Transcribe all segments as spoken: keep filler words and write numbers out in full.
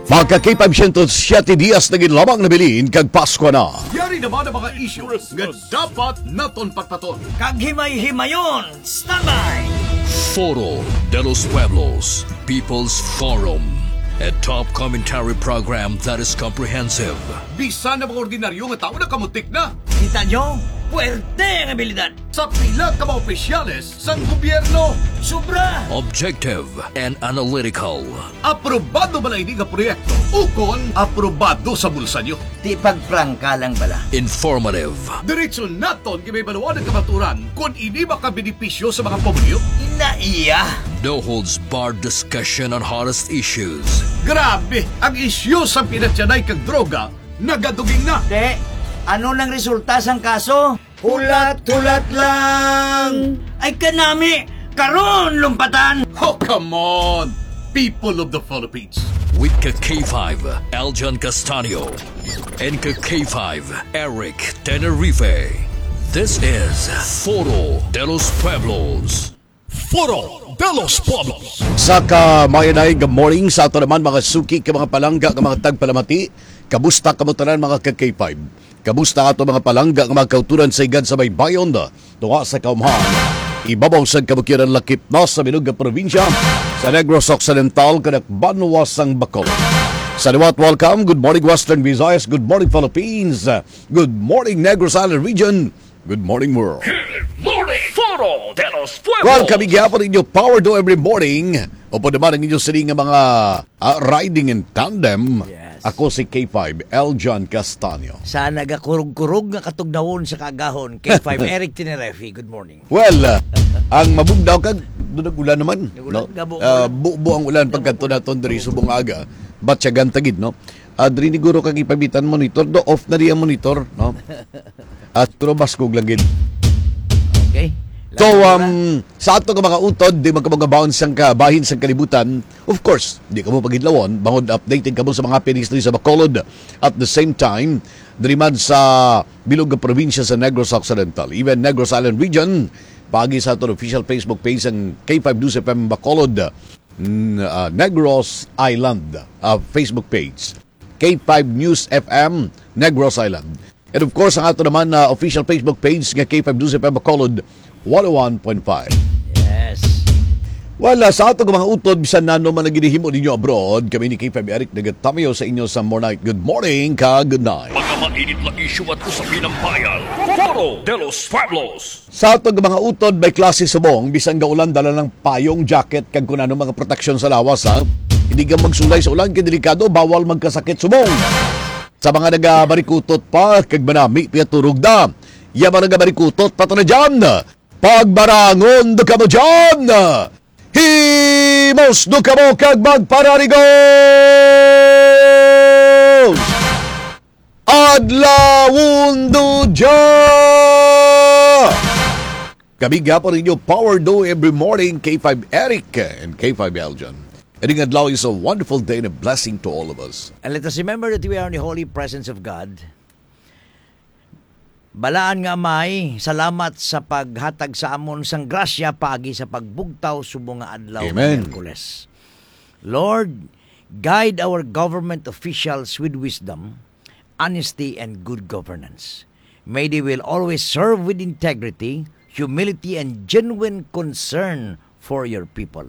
Magka K five siyento siyete dias na gid lamang nabilin kag Pasko na. Yari naman ang mga isyu nga dapat naton patpaton. Kag himay-himayon, standby! Foro de los Pueblos, People's Forum, a top commentary program that is comprehensive. Bisan ang mga ordinaryo nga tawo nakamutik na. Kita nyo? Puwerte ang abilidad! Sa pila ka mga opisyales sang gobyerno. Sobra! Objective and analytical. Aprobado bala ini nga proyekto? Ukon aprobado sa bulsa nyo? Di pagprangka lang bala. Informative. Diretso naton gibaybalawan ang kamaturan kon ini makabenepisyo sa mga pumuluyo. Ina iya. No holds barred discussion on hottest issues. Grabe, ang isyu sa pinatyanay kag droga nagaduging na. Te, ano nang resulta sang kaso? Hulat-hulat lang! Ay kanami, karon lumpatan! Oh, come on! People of the Philippines. With ka K five, Aljon Castaño. And ka K five, Eric Tenerife. This is Foro de los Pueblos. Foro de los Pueblos. Sa kamayanay nga morning sa ato naman mga suki ka mga palangga nga mga tagpalamati. Kamusta kamo tanan mga ka K five? Kamusta ato mga palangga nga mga kauturan sa higad sa baybayon? Tunga sa kaumhan, ibabaw sang kabukyanan lakip na sa bilog nga probinsya sa Negros Occidental, kanakbanwa sang Bacolod. Sa liwat, welcome. Good morning, Western Visayas. Good morning, Philippines. Good morning, Negros Island Region. Good morning, world. Good morning, Foro de los Pueblos. Well, kami gihapon ninyo, Power Do Every Morning. Upod naman ang inyong siling nga mga, ah, riding in tandem. Yes. Ako si K five, Eljan Castaño. Sa nagakurog-kurog nga katugnawon sa kaagahon, K five Eric Tinerefi, good morning. Well, ah, ang mabugnaw kag, dunag ulan naman, Nag-ulan, no? gabo, Ah, gabo. bubo ang ulan Gabo, pagkadto gabo. naton diri subong aga. Batyagan ta gid, no? Ah, diri ni guro kag ipabitan monitor, do off na di ang monitor, no? At pero baskog lang gid. Okay. So, Lagi na. um, sa ato nga mga utod, di magkabagabaon sang kabahin sang kalibutan, of course, di kamo pagidlawon, bangod updated kamo sa mga happenings diri sa Bacolod. At the same time, diri man sa bilog nga probinsya sa Negros Occidental, even Negros Island Region, paagi sa aton official Facebook page ang K five News F M Bacolod, n-, ah, Negros Island, ah, Facebook page. K five News F M, Negros Island. And of course, ang ato naman na official Facebook page nga K five News F M Bacolod, one oh one point five. Yes. Wala sa ato nga mga utod, bisan nano man ang ginahimo ninyo abroad, kami ni K five Eric nagatamayo sa inyo sa More Night. Good morning, ka good night. Mga mainit na isyu at usapin ng bayan. Foro de los Pueblos. Sa ato nga mga utod, may klase subong, bisan gaulan, dala ng payong, jacket, kag kun ano mga proteksyon sa lawas, ha? Hindi ka magsulay sa ulan, kay delikado, bawal magkasakit subong. Sa mga nagabarikutot pa, kag manami, piyaturog na. Ya mga nagabarikutot, pata na dyan. Pagbarangon do kamo dyan. Himos do kamo kag magpararigos. Adlawon do dya! Kami gihapon ninyo, Power Do every morning, K five Eric and K five Eljan. Ining adlaw is a wonderful day and a blessing to all of us. And let us remember that we are in the holy presence of God. Balaan nga Amay, salamat sa paghatag sa amon sang grasya paagi sa pagbugtaw subong nga adlaw nga Amen. Miyerkules. Lord, guide our government officials with wisdom, honesty, and good governance. May they will always serve with integrity, humility, and genuine concern for your people.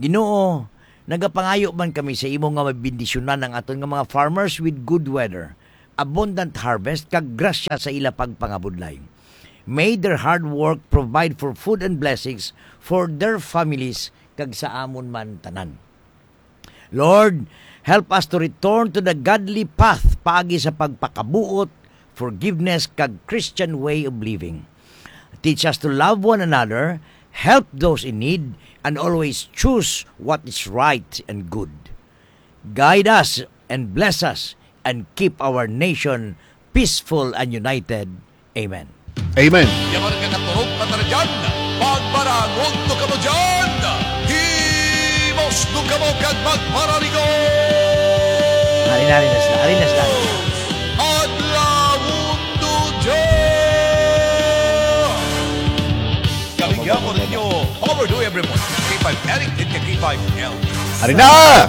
Ginoo, nagapangayo man kami sa imo nga mabendisyonan ang aton nga mga farmers with good weather, abundant harvest, kag grasya sa ila pagpangabudlay. May their hard work provide for food and blessings for their families kag sa amon man tanan. Lord, help us to return to the godly path paagi sa pagpakabuot, forgiveness, kag Christian way of living. Teach us to love one another, help those in need, and always choose what is right and good. Guide us and bless us and keep our nation peaceful and united. Amen. Amen. Yaman nga naturog pa ta na dyan, pagbarangon do kamo dyan. Himos do kamo kag magpararigo. Ari na, ari na sila, ari na sila. Adlawon do dyan. Kami gyapon ninyo, Power Do every morning. K five Eric and K five L. Ari na!